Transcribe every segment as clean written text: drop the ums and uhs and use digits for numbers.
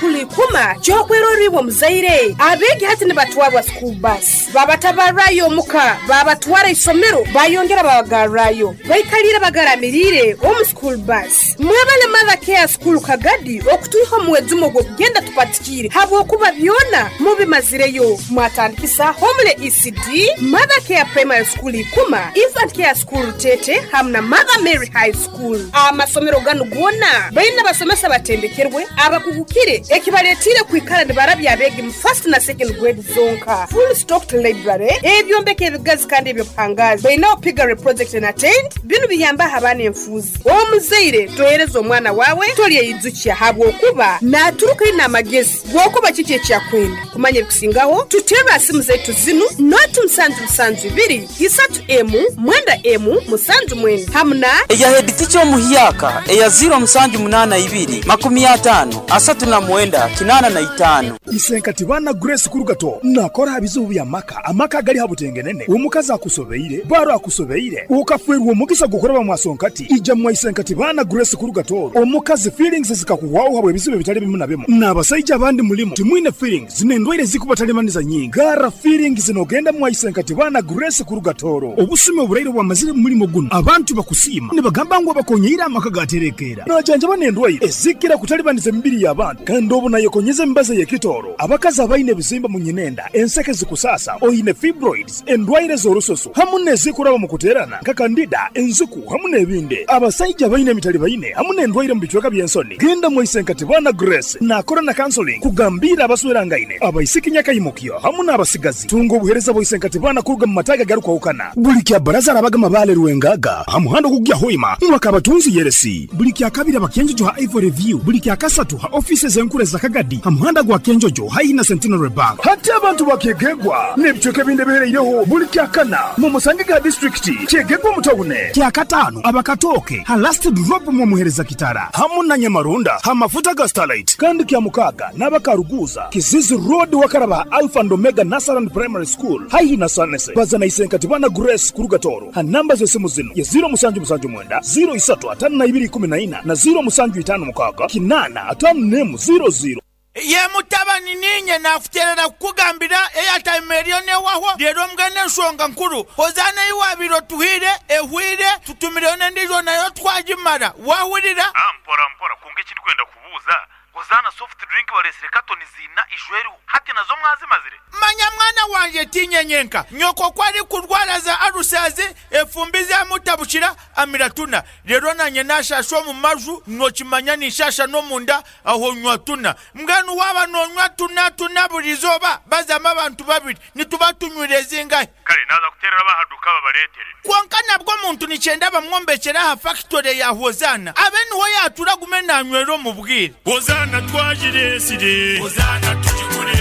School Ikuma ky'okwerorra iwe omuzaire. Abeegi hati nibatwarwa school bus, babatabarrayo omuka, babatwara isomero, bayongera babagarrayo. Baikaliire bagaramiriire omu school bus. Mwebale Mother Care School Kagadi okutwiha omu mwejumo gw'okugenda tupatikiire habwokuba byona mubimazireyo. Mwatandikisa Homely ECD, Mother Care Primary School Ikuma, Infant Care School Rutete hamu na Mother Mary High School. Amasomero ganu goona baine abasomesa abatendekerwe, abakugukire ekibaletiire kwikara nibarabya abeegi mu first na second grade zonka. Full stocked library, ebyombeko ebigazi kandi eby'obuhangaazi. Bainaho piggery project and attend. Binu biyambaho abaana enfuuzi. Omuzaire tohereza omwana waawe tolyeyijukya habwokuba naaturuka aine amagezi g'okuba kiki eki akwenda. Kumanya ebikusingaho, tuterre ha simu zaitu zinu, noti musanju musanju ibiri, isatu emu, mwenda emu, musanju mwenda hamu na. Eya headteacher omuhyaka eya ziro musanju munana ibiri, makumi atano, asatu na mwenda, kinana na itano. Isenkati baana Grace Kurugato nakora aha bizibu by'amaka, amaka agali ha butengenene, omukazi akusobeire, baro akusobeire, okafeerwa omugisa gw'okuraba mwasonkati, ija mwa Isenkati baana Grace Kurugato, omukazi feelings zikakuhwaho habw'ebizibu ebitali bimu na bimu, n'abasaija abandi mulimu timwine feelings n'endwaire ezikubatalibaniza nyingi, garra feelings n'ogenda mwa Isenkati baana Grace Kurugatoro. Obusumi oburaire obwamazire mu mulimo gunu, abantu bakusiima nibagamba ngu abakonyeire amaka gaterekeera. Najanjaba n'endwaire ezikira kutalibaniza emibiri y'abantu kandi obu nayekonyeza emibazi ey'ekitooro. Abakazi abaine ebizimba mu nyinenda, enseke zikusaasa, oine fibroids, endwaire z'orususu hamu n'ezikuraba mu kuteerana nka kandida, enziku hamu n'ebindi. Abasaija abaine emitalibaine hamu n'endwaire mu bicweka by'ensoni, genda mwa Isenkati Baana Grace naakora na counseling kugambiira abaswerangaine, abaisiki nyakaimukyo hamu n'abasigazi. Tunga obuheereza bwa Isenkati Baana kuruga mu mataagi agarukwahukana. Buli kya Baraza arabaga Mabaale Rwengaga ha muhanda ogukugya Hoima mwaka abatunzi Yeresi. Buli kya Kabiri aba Kyenjojo ha Ivory View. Buli kya Kasatu ha ofiisi ez'enkuru eza Kagadi ha muhanda gwa Kyenjojo haihi na Centenary Bank. Hati abantu ba Kyegegwa n'ebicweka ebindi ebihereireho buli kya Kana mumusange ga disiturikiti Kyegegwa omu tawune. Kya Kataano aba Katooke ha Last Drop mwomuhereza Kitara hamu na Nyamarunda ha mafuta ga Starlight. Kandi kya Mukaaga n'aba Karuguuza, Kizizi Road wakaraba ha Alpha and Omega Nursery and Primary School haihi na Sanese. Baza na Isenkati Bana Grace kuruga Tooro ha namba z'esimu zinu ye ziro musanju musanju mwenda, ziro isatu atano na ibiri ikumi na ina na ziro musanju itano mukaaga, kinaana atano n'emu ziro ziro. Ye mutabani, niinye naakuteerera kukugambira eyataima eriyo n'ewahwo. Reero mbwenu enshonga nkuru, Hozaana ei waabaire otuhaire ehweire, tutumireyo n'endiijo nayo twagimara. Waahurira? Mpora mpora, kwonka eki ndikwenda kubuuza, Hozaana soft drink bareetsire katoni ziina ijo eriho, hati nazo mwazimazire? Manya mwana wangye, tiinye nyenka. Nyoko ku arikurwara za alusazi, efumbi zaamutabukira, amira tuna. Reero naanye naashaasha omu maju, nookimanya ninshaasha n'omunda, aho nywa tuna. Mbwenu waaba noonywa tuna tuna buri izooba, bazamu abantu babiri, nituba tunywire zingahi? Kare naaza kuteerera ab'aha duuka babareetere. Kwonka nabwo omuntu nikyenda bamwombekyere aha fakitore ya Hozaana, abe niho yaatuura agume naanywera omu bwire. Hozaana twagireetsire. Hozaana tugigure.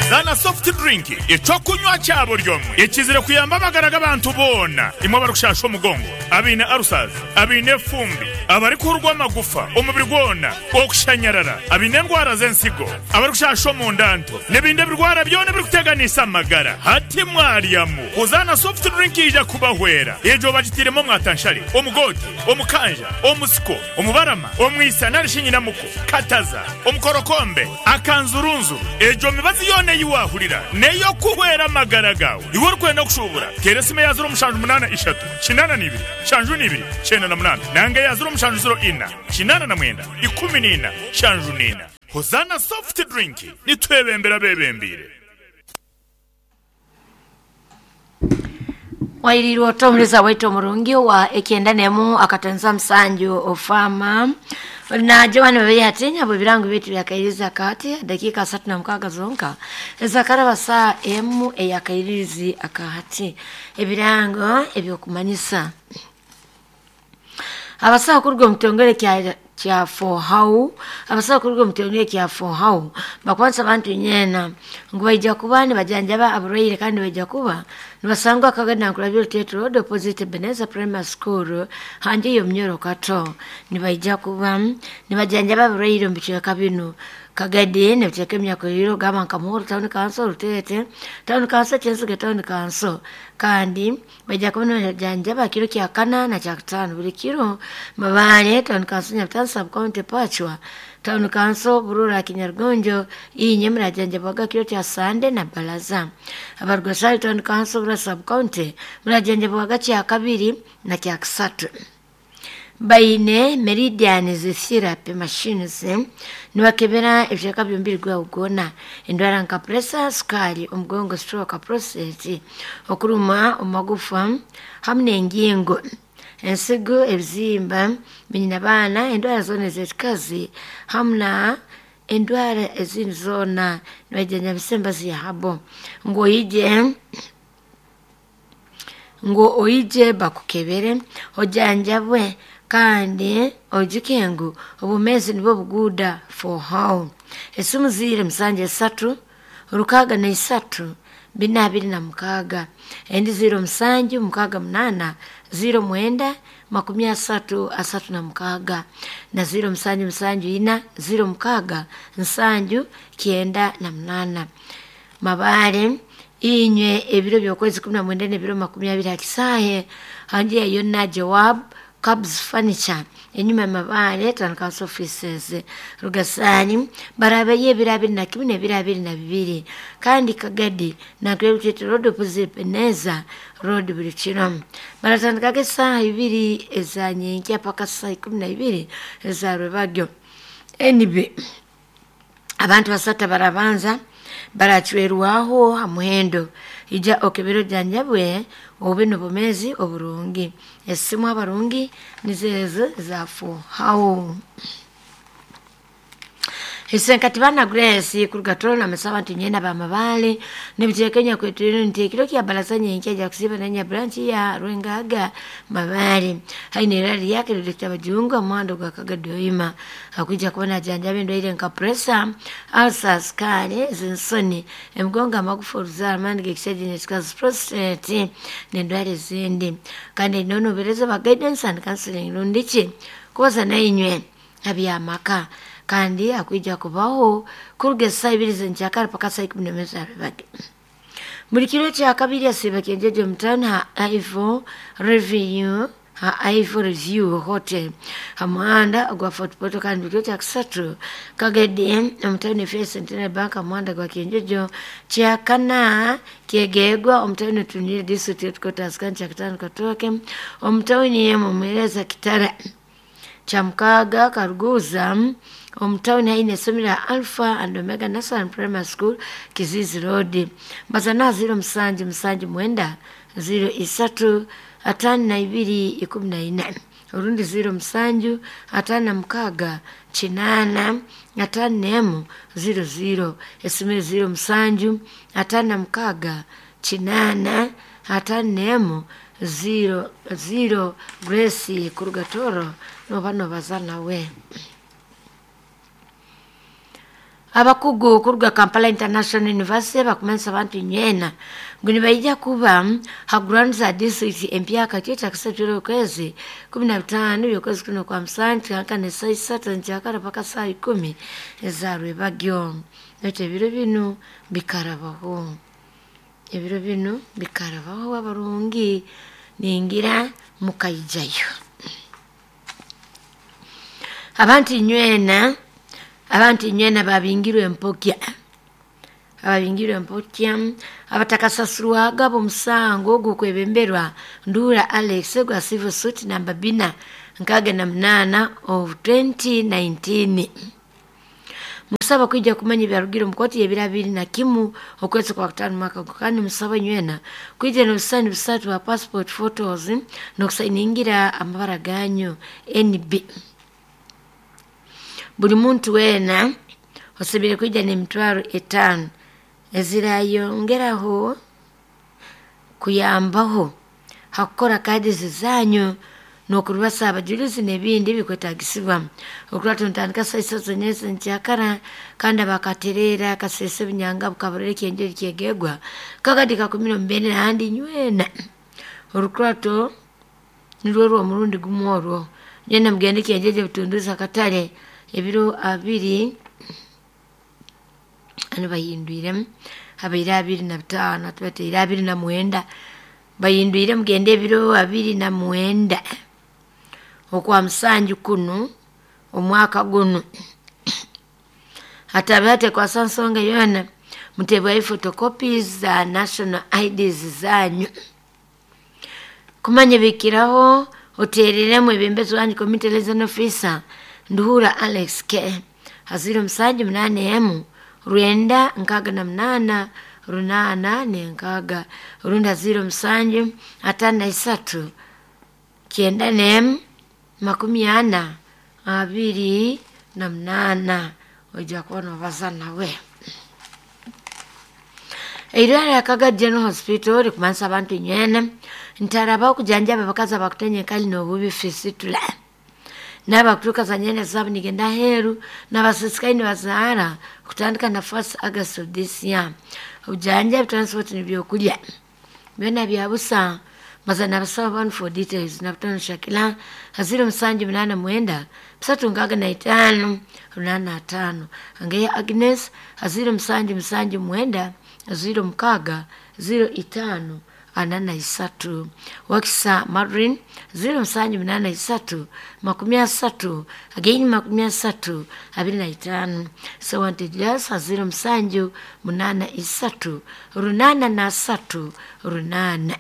Zaana Soft Drink, eky'okunywa kya buri omwe ekizire kuyamba amagara g'abantu boona. Imwe abarikushasha omugongo, abaine ulcers, abaine efumbi, abarikuhurwa amagufa omubiri gwona, okushanyarara, abaine endwara z'ensigo, abarikushasha omunda nto, n'ebindi ebirwara byona ebirikuteganisa amagara. Hati mwaryamu. Hozaana Soft Drink yaija kubahwera. Egyo bagitairemu omwatanshare, omugoote, omukanja, omusiko, omubarama, omwisa nari shi nyinamuko, kataza, omukorokombe, akanzurunzuru. Egyo mibazi yoona ei waahurira n'ey'okuhwera amagara gaawe. Iwe orikwenda kushuubura, teera esimu eya ziro mushanju munaana ishatu, kinaana na ibiri, nshanju na ibiri, kyenda na munaana nanga eya ziro mushanju ziro ina, kinaana na mwenda, ikumi na ina, nshanju na ina. Hozaana Soft Drink, nitwebembera abeebembeire. Wairiirwe ota omuliza waitu omurungi owa ekyenda nemu akatonza musanju ofama na Joan Babeya atinya bwe birango byetu byakairiza akati dakika 36 zonka ezakaraba saa emu eyakairizi akahati ebirango ebyokumanyisa abasawo kuruga omu kitongole kya Fohau abasawo kuruga omu kitongole kya Fohau bakwanisa abantu nyena ngu baija kuba nibajanjaba abarwaire kandi baija kuba nibasangwa akaganda nkurabyo Rutete Road opposite Ebenezer Primary School hanje y'omunyoro kato nibaija kuba nibajanjaba abarwaire omu bicweka binu Kagadi n'ebicweka ebinyakwirire ogamba nka Muhuru Town Council, Rutete Town Council, Kyensige Town Council kandi baija kuba nibajanjaba kiro kya kana na kyakutaano buli kiro Mabale Town Council, Nyabitano Sub County, Pachwa Town Council Burura Kinyarugonjo inye murajanjabwaga kiro kya Sande na Balaza. Abarugashari Town Council Burura Sub County murajanjabwaga kya kabiri na kya kasatu. Baine meridian therapy machines niwakebera ebishaka byombi gwa ugona endwara nka pressure, sukari, omugongo, stroke, prostate, okuruma omagufa hamwe n'engingo, ensigo, ebizimba binyina baana, endwara zona ez'ekikazi hamwe na endwara ezindi zona nibajanjabisa embazi yahabo. Ngo oije bakukebere ojanjabwe kandi ojuke ngu obumezi nibwo buguda for how. Esimu ziri 73 63 426 endi 07 68 09 30 36 na 07 74 06 98. Mabare inywe ebiro by'okwezi 19 n'ebiro 20 akisahe handi yonna Joab Cubs Furniture enyuma Mabare Town Council Offices Rugasani barabe ye bira 21 n'ebiro 22 kandi Kagadi na Great Road opposite Peneza Road buli kiro baratandika esaha 2 ezanyenkya paka saa 12 eza rwebagyo. NB abantu basata barabanza barachwerwaho hamuhendo ija okebero janjabwe obe nobomezi oburungi. Esimu abarungi nizezo zafu hao. Isenkati bana Grace kurugatoro na mesaba ntinyena ba mabale nibitekenya kwetu ntekiro kya balaza nyenke ja kusiba nanya branch ya Rwengaga Mabale haine rali yake Dr. Bajungu mwando gwa Kagadoima akuja kubona janjabe ndwaire nka pressure, ulcers, kale zinsoni, emgonga, amagufa, oruzara, amani gekishaji netikazi, prostate nendwara ezindi. Kandi nono bereza ba guidance and counseling rundiki kubaza nainywe abyamaka kandi akuija kubaho kuruga saa 2 zenchakara paka saa 11 zabibage. Buli kiro kya kabiri asiba kenjeje mutano ha Ivo Review ha Ivo Review Hotel hamuhanda gwa Fort Portal kandi buli kiro kya kasatu Kagedi omutano First Centenary Bank hamuhanda gwa Kenjejo kya kana kyegegwa omutano Tunire District Headquarters kandi kya katano Katoke omutano Mumwereza Kitara cha mukaga Karuguza omutawuni haine esomero Alpha and Omega National Primary School Kizizi Road mazana 07 79 03 52 14 orundi 07 56 8 5 00 esimu 07 56 8 5 00 Grace Kurugatoro no bano bazana we. Abakugu kuruga Kampala International University bakumensa abantu nyena nguni baija kuba ha grounds za district empya kakyo kisatiro kwezi 15 byokwezi kuno kwa msanti hankane saa 6 njakara paka saa 10 ezarwe bagyo nete biro binu bikarabaho ebiro binu bikarabaho abarungi ningira mukayijayo. Abantu nywena babingirwe empokya abatakasasurwaga bomusango gukwebemberwa Ndura Alex gwa civil suit namba 468 of 2019. Musaba kuija kumanya byarugiro mukoti ya 2021 okwezi kwa 5 mwaka kandi musaba nywena kuija n'obusani busatu wa passport photos n'okusainingira amabara ganyu NB. Buli muntu wena osebire kuija n'emitwaro 5 ezirayongeraho kuyambaho hakukora kadi zizanyu n'okurubasa abajulizi n'ebindi bikwetagisibwa. Okurata ntandika saa 3 nyese nkyakara kandi abakaterera kasese binyanga bukabarere kyenjeri kyegegwa kakadi ka 12 handi nywena orukurato nirwo rwo murundi gumworwo nyena mugende kyenjeje butunduza katale ebiro 2 ano bahindwire abaira 25 tubateira 29 bayindwire mugende ebiro 29 okwa musanju kuno omwaka guno. Atabe kwa nsonga yona mutebwayo photocopies za national IDs zanyu. Kumanya bikiraho otereremu ebembezi wanyu community liaison officer Nduhura Alex K. Haziro musanju munane emu rwenda nkaga na munana runana nenkaga runda 0 7 53 94 40 28 ojja kuona baza nawe. Eirwara ya Kaga General Hospital likumanisa abantu nywene ntaraba okujanjaba abakazi abakutenye enkali n'obubi fisitula n'abakutuuka za nyene zaabo nigenda aheeru n'abasisikaine bazaara kutandika na 1st August of this year. Obujanjabi, transport n'ebyokurya byona bya busa. Maza nabasaba abantu for details nabutano Shakila 0789 365 85 Angeya Agnes 0779 06 05 43 Wakisa Madrin 0783 30 again 30 25 Sewante Jas 07 83 8 3 8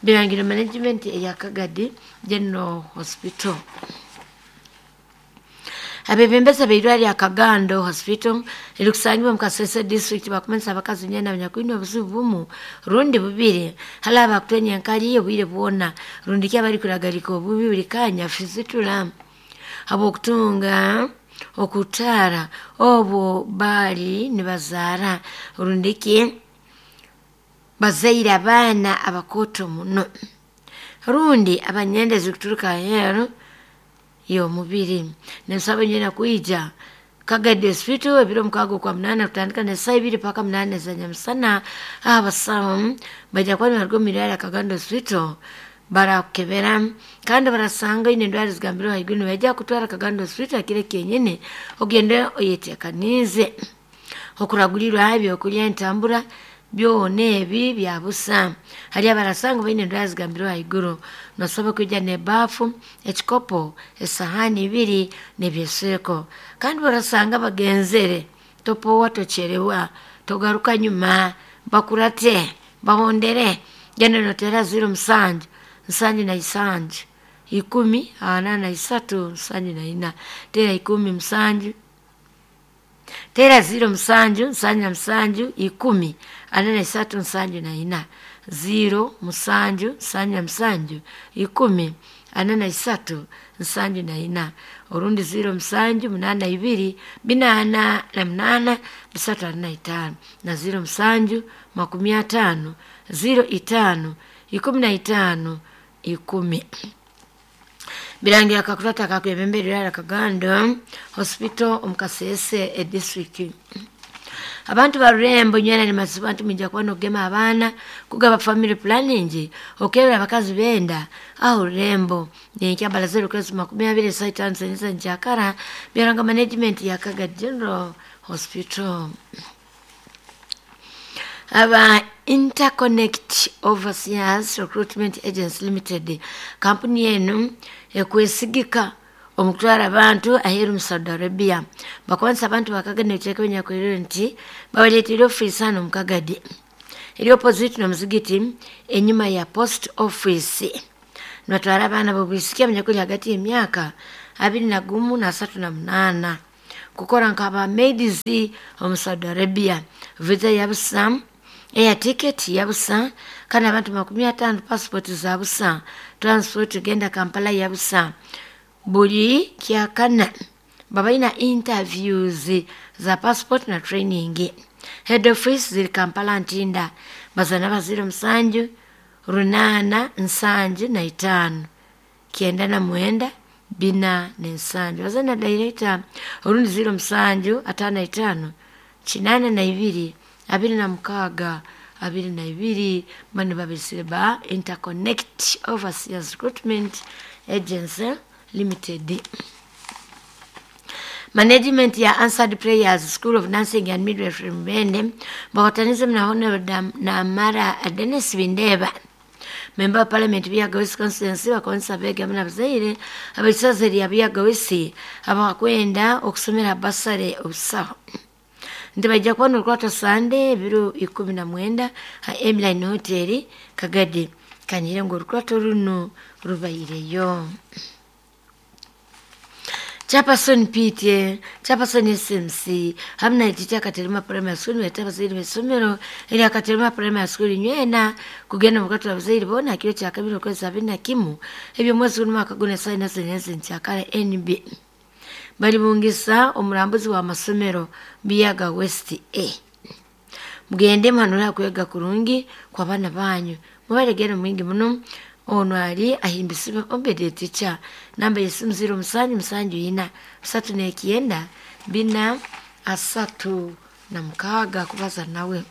Birangiro Management ya Kagadi General Hospital. Abebembeza beirwari ya Kagando Hospital ilikusanywa mukasese district bakumanisa abakazi nyena abanyakwine obuzibu bumu rundi bubiri hala bakutenya enkali iyo bwire bwona rundi kya bari kuragarika obubi buri kanya fizitula abokutunga okutara obo bali nibazaara rundi ki bazaire abaana abakoto muno rundi abanyende zikuturuka aheeru y'omubiri. Nensaba nyina kuija Kagadi Hospital ebiro 68 kutandika na saa 2 paka 8 za nyamusana. Abasawo bajja kuba nibaruga omu irwariro rya Kagando Hospital barakukebera kandi barasanga oine endwara ezigambirwe ahaiguru nibaija kutwara Kagando Hospital kiro kyenyine ogende oyeteekaniize okuragurirwa ebyokurya entambura byona ebi bya busa. Hari abarasanga baine endwara zigambirwe ahaiguru nosaba kwija n'ebaafu, ekikopo, esahani ibiri n'ebyesweko. Kandi barasanga bagenzere topowa tocherewa togaruka nyuma bakurate bahondere genda notera 0 7 7 10 43 74 tera 10 7 tera 0 7 7 10 43 74 0 7 7 10 43 74 orundi 0 7 82 48 345 na 0 7 50 05 15 10. Birangira kakurata kakwebembera Kagando Hospital omukasese e district. Abantu barurembo nywena ni masibantu minja kuba nokugema abaana kugaba family planning okebera abakazi benda aho rurembo nekyambala 0 kwezi 20 saa 5 za njakara byaranga management ya Kaga General Hospital. Aba Interconnect Overseas Recruitment Agency Limited kampuni yenu ekwesigika omutwara abantu aheeru mu Saudi Arabia bakwanisa abantu bakagana ebiteeka binyakwirire nti babaleetera ofiisi hano mu Kagadi eri opposite n'omuzigiti enyuma ya post office. Nibatwara abaana b'obwisiki abanyakuli hagati y'emyaka 21 na 38 kukora nk'aba maids omu Saudi Arabia. Visa ya busa, air ticket ya busa, kandi abantu 50 passport za busa, transport genda Kampala ya busa. Buli kyakana babaina interviews za passport na training. Head office ziri Kampala Ntinda bazana ba 0 7 8 7 5 99 47 bazana director orundi 0 7 55 82 26 22 mani babisire ba Interconnect Overseas Recruitment Agency Limited. Management ya Answered Prayers School of Nursing and Midwifery Mubende bakatanize na Honorable na Mara Dennis Bindeba Member of Parliament Byaga West Constituency bakonsa bega muna bazaire abaisazeri ya Byaga West abakwenda okusomera basare obusaho. Nti baija kuba norukwata Sande ebiro 19 ha Emline Hotel Kagadi. Kanyire ngu orukwato runo rubaireyo. Chapason PTA, Chapason SMC, hamwe na ekiti Akaterema Primary School nibeeta abazaire b'eisomero erya Katerema Primary School nywena kugenda omu kukatwa abazaire boona aha kiro kya kabiri okwezi 21 eby'omwezi guno omwaka guno esaaha ina z'enyensi nkyakara NB. Balibungisa omurambuzi w'amasomero Biyaga West A. Mugende muhanure aha kwega kurungi kw'abaana banyu. Mubalegere mwingi muno. Ono ali ahimbisibwe Obedi Ticha. Namba y'esimu 0774 39 4 36 kubaza nawe.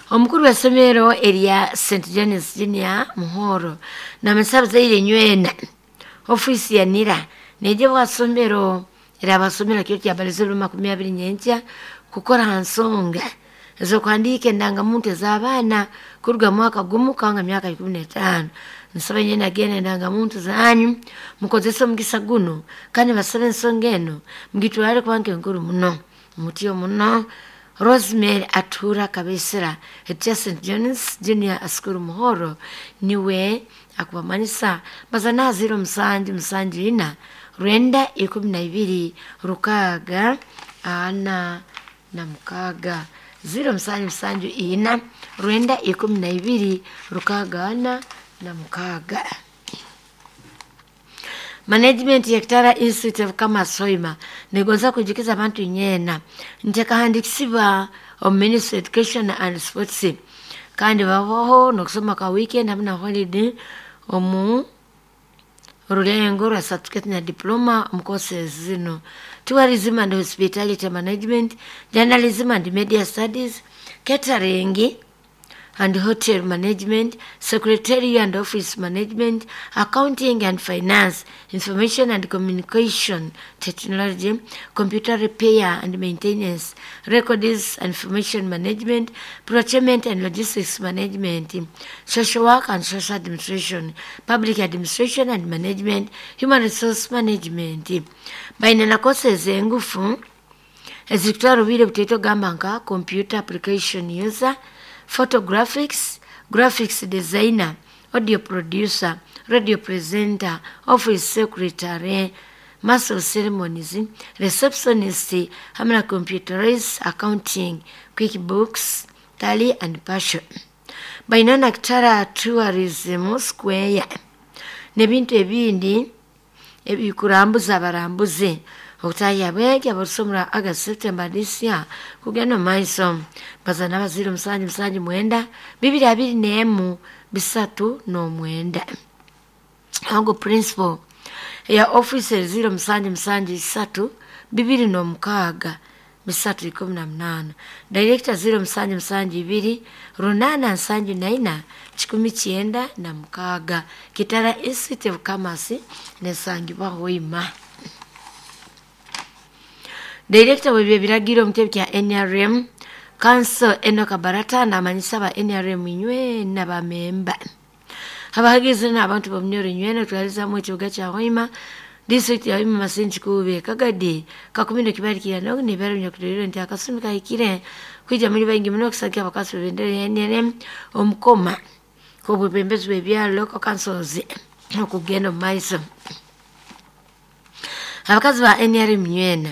Omukuru w'essomero erya St John's Junior Muhoro namanyisa abazaire nywena ofiisi ya NIRA neija bwasomero erabasomera kiro kyabalize ebiro 20 nyenkya kukora ha nsonga ez'okuhandiika endangamuntu ez'abaana kuruga mwaka gumu kanga myaka 15. Nsaba nyena agenda endangamuntu zanyu mukozese omugisa guno kandi basabe ensonga eno mugitwale kuba nkuru muno mutyo muno. Rosemary Atura Kabesera etya St John's Junior School Muhoro niwe akubamanyisa bazana 07 74 912 6 4 6 07 74 912 6 4 6. Management ya Kitara Institute of Commerce Hoima negonza kujukiza abantu nyena ntekahandikisiba omu Ministry of Education and Sports kandi babaho nokusoma ka weekend hamwe na holiday omu rulengo rwa certificate na diploma omu courses zino: tourism and hospitality management, journalism and media studies, catering and hotel management, secretarial and office management, accounting and finance, information and communication technology, computer repair and maintenance, records and information management, procurement and logistics management, social work and social administration, public administration and management, human resource management. Baina na courses engufu ezikutwara obwire butaito gamba nka computer application user, photographics, graphics designer, audio producer, radio presenter, office secretary, master of ceremonies, receptionist, hamwe na computerized accounting, QuickBooks, Tally and Passion. Baina na Kitara Tourism Square n'ebintu ebindi ebikurambuza abarambuzi okutahya abegi abarusomera August, September this year kugenda omu maiso. Bazana abazire 779 221 339. Ago principal ya office 0773 206 318. Director 0772 874 196. Kitara Institute of Commerce nesangibwa Hoima. Director w'ebyo biragiro omu kitebe kya NRM Council Enoch Barata namanyisa aba NRM nywena bamemba abahagizi n'abantu b'omunyoro nywena twalizamu ekibuga kya Hoima, district ya Hoima, Masinji, Kube, Kagadi, Kakumindo, Kibarikira n'ebiro nyakuturire nti akasumi kahikire kwija muri baingi muno okusagika abakasi b'ebendera ya NRM omukoma k'obwebembezi bw'ebyaro local councils okugenda omu maiso. Abakazi ba NRM nywena